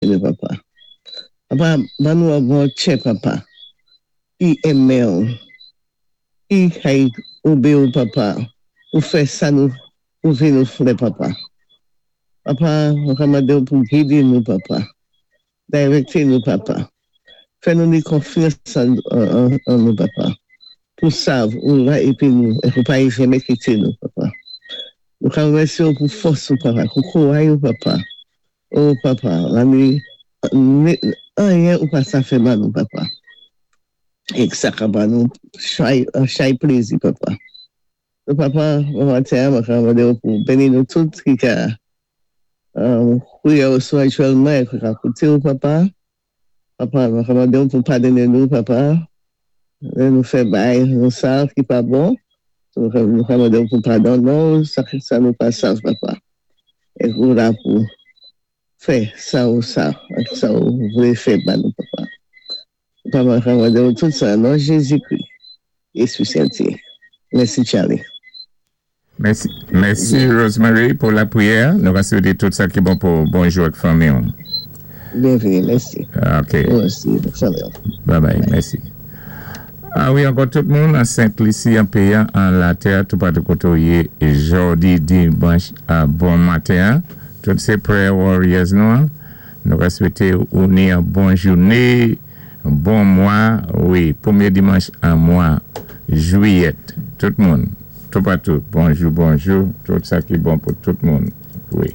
Nou, Papa. Papa, ban nou an bon tchè, Papa. Ki enmen ou. Ki kay obéyi ou, Papa. Pou fè sa nou ou vlé nou fè, Papa. Papa, mwen ka mandé ou pou gidé nou, Papa. Direkté nou, Papa. Fè nou ni konfyans an, an, an nou, Papa. Pou sav ou la épi nou, é pou pa janmé kité nou, Papa. Nou ka rémèsyé ou pou fòs ou, Papa, pou kouray ou, Papa. Oh, Papa, la ni, anyen ou pa sa fè ban nou, Papa. É sa ka ban nou chay, chay plézi, Papa. So, Papa, maten, mwen ka mandé ou pou béni nou tout ki ka kwiyé ou spirityèlman é ki ka kouté ou, Papa. Papa, mwen ka mandé ou pou padoné nou, Papa. Lè nou fè bay nou sa ki pa bon. So, nou ka mandé ou pou padoné nou, sa, sa nou pa sav, Papa. É ou la pou fè sa ou sa, sa ou vlé fè ban nou, Papa. Papa, mwen ka mandé ou tout sa, nan Jézi-Kri, Éspwi Sen. Mèsi, Charlie. Mèsi, mèsi, Rosemary, pou lapriyè. Nou va swété tout sa ki bon pou bonjou ak fanmi. Byenvini, mèsi. OK. Mèsi, fanmi. Bye bye, mèsi. A wi, ankò tout moun an Sent Lisi, an péyi, an latè, toupatou koté ou yé jòdi dimanch bon maten. Tout sé prayer warriors nou. Hein. Nou va swété ou ni yon bon jouné, bon mwa, wi, pwémyé dimanch an mwa jwiyèt. Tout moun, toupatou, bonjou, bonjou, tout sa ki bon pou tout moun, wi.